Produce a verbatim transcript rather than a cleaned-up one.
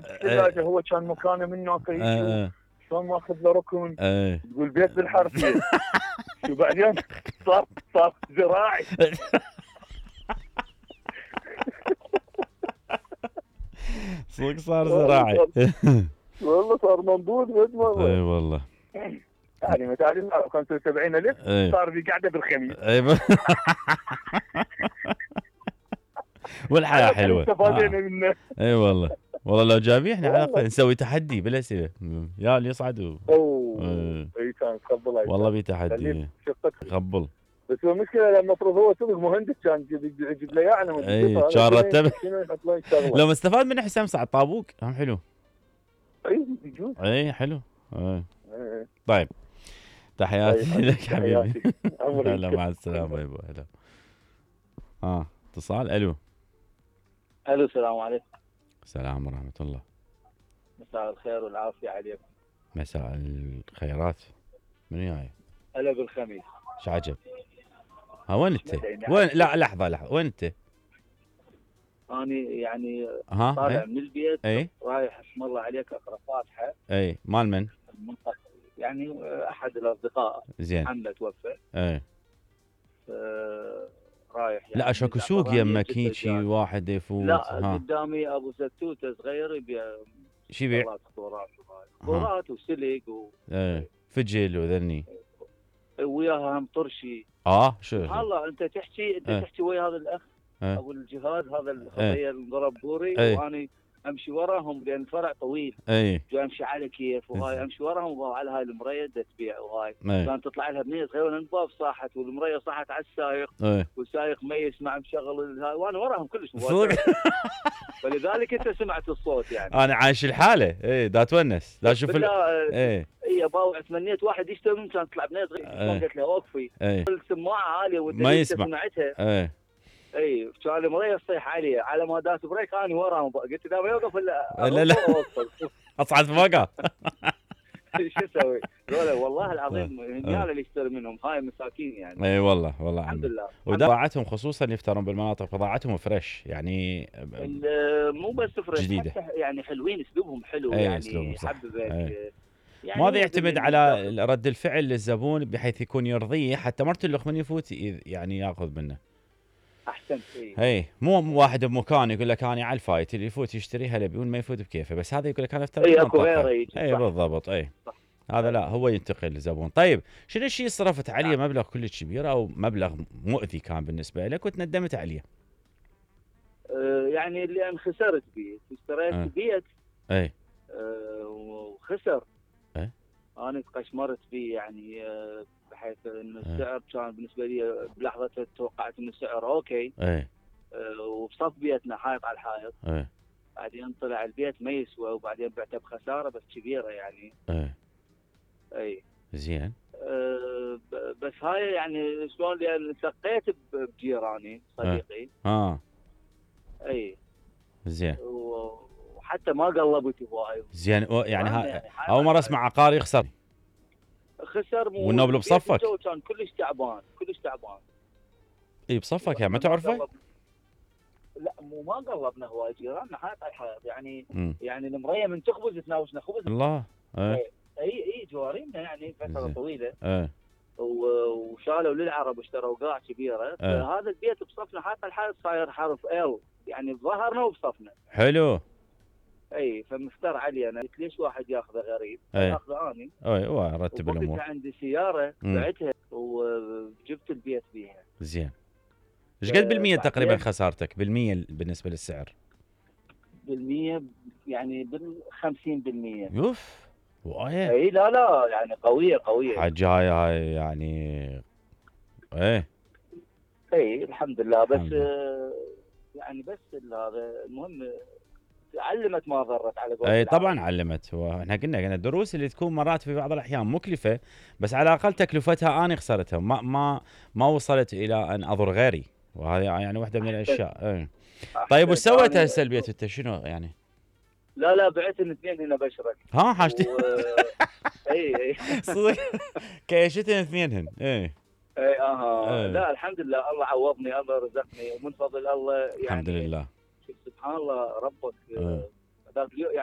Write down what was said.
يعني الثلاجه هو كان مكانه من هناك يجي شلون ماخذ له ركن تقول بيت بالحرفيه. شو بعدين صار صار زراعي. صدق صار زراعي. والله صار منبوذ مجمل. اي والله. يعني متعرف خمسة وسبعين الف صار في قاعده بالخميس. اي والحياه حلوه. استفادينا منه. اي والله. والله لو جابيحنا على الاقل نسوي تحدي بالاسئله يا اللي يصعدوا. اوه اي كان تقبل. والله بي تحدي قبل. بس المشكله المفروض هو صدق مهندس كان يجيب لي اياه. انا اي كان رتب. لو مستفاد منه حسام سعد طابوق هم حلو. اي يجوز. اي حلو. اي طيب تحياتي لك حبيبي. هلا مع السلامه يبا. هلا اه اتصال. الو الو السلام عليكم. السلام ورحمه الله. مساء الخير والعافيه عليكم. مساء الخيرات. من جاي؟ هلا بالخميس. ايش عجب. ها وين انت؟ وين؟ لا لحظه لحظه وين انت؟ اني يعني ها طالع ايه؟ من البيت. اي رايح اسم الله عليك اقرا فاتحه. اي مال من؟ يعني احد الاصدقاء. زين. عمه توفى. اي آه رايح يعني. لا شكو سوق يمك هيك شي واحد يفوت. لا ها. قدامي ابو ستوته صغير يبيع. شو يبيع؟ كورات كورات وسلك و ايه فجل وذني. وياها هم طرشي. اه شو والله انت تحكي انت اه. تحكي ويا هذا الاخ اه. ابو الجهاد هذا الخطيه المضرب بوري اه. واني امشي وراهم لان الفرع طويل. اي جاي امشي على كيف وهاي امشي وراهم وعلى هاي المريه تبيع وهاي كان تطلع لها بنيه صغيره والباب صاحت والمريه صاحت على السايق اي. والسايق ما يسمع مشغل هاي وانا وراهم كلش فلذلك انت سمعت الصوت يعني. انا عايش الحاله. اي دا تونس دا اشوف. اي اي باوع تمنيت واحد يشتري من كان تطلع بنيه صغيره قلت له اوقفي السماعه عاليه ما يسمع سمعتها. اي اي كان المريه تصيح علي على ما داس بريك انا وراهم قلت له ما يوقف الا لا لا اصعد فوقه. شو اسوي؟ والله العظيم هنيال اللي يشتري منهم هاي مساكين يعني. اي والله والله الحمد لله. وبضاعتهم خصوصا يفترون بالمناطق بضاعتهم فريش يعني. مو بس فريش جديده يعني حلوين اسلوبهم حلو يعني يحببك. يعني ماذا يعتمد على رد الفعل للزبون بحيث يكون يرضيه حتى مرتلخ من يفوت يعني ياخذ منه. احسنت. اي مو واحد بمكان يقول لك انا على الفايت اللي يفوت يشتري هلا بيقول ما يفوت بكيفه بس هذا يقول لك انا افترض. اي اكو غيره يجي. اي بالضبط. اي صح. هذا لا هو ينتقل للزبون. طيب شنو الشيء صرفت عليه مبلغ كلش كبير او مبلغ مؤذي كان بالنسبه لك وتندمت عليه؟ أه يعني اللي انا خسرت بيه اشتريت أه. بيت. اي أه وخسر. اي انا تقشمرت بيه يعني أه بحيث انه السعر كان بالنسبه لي بلحظه توقعت انه السعر اوكي. اي أه وبصف بيتنا حائط على الحائط. اي بعدين طلع البيت ما يسوى وبعدين بعته بخساره بس كبيره يعني. اي اي زين. أه بس هاي يعني شلون لان سقيت بجيراني صديقي. اه اي زين. وحتى ما قلبت هواي. زين يعني ها اول مره اسمع عقاري يخسر. خسر مو والنوبل بصفك. كان كلش تعبان كلش تعبان. اي بصفك يعني ما تعرفه؟ لا مو ما قلبنا هواي جيراننا حائط على الحائط يعني. م. يعني المريه من تخبز تناوشنا خبز. الله. اي اي, أي جوارينا يعني فتره طويله. اي وشالوا للعرب واشتروا قاع كبيره. هذا البيت بصفنا حائط على الحائط صاير حرف ال يعني بظهرنا وبصفنا. حلو. اي فمفتر علي انا قلت ليش واحد ياخذه غريب؟ اخذه اني. اي وارتب الامور. عندي سياره بعتها وجبت البيت بيها. زين. ايش قد بالمية تقريبا خسارتك بالمية بالنسبه للسعر؟ بالمية يعني بالخمسين بالمية. يوف وايه. اي لا لا يعني قويه قويه. حجايه هاي يعني. ايه اي الحمد لله بس الحمد لله. يعني بس هذا المهم علمت ما ضرت على قولتهم. اي طبعا علمت. واحنا قلنا قلنا الدروس اللي تكون مرات في بعض الاحيان مكلفه بس على الاقل تكلفتها انا خسرتها ما ما ما وصلت الى ان اضر غيري وهذه يعني واحده من الاشياء. اي طيب وش سويت هسه البيت انت شنو يعني؟ لا لا بعت الاثنين هنا بشرك. ها حاجتي. و... اي اي صدق كيشتن اثنينهن. اي اي اها لا الحمد لله الله عوضني الله رزقني ومن فضل الله يعني الحمد لله. سبحان الله ربك ذاك اليوم يعني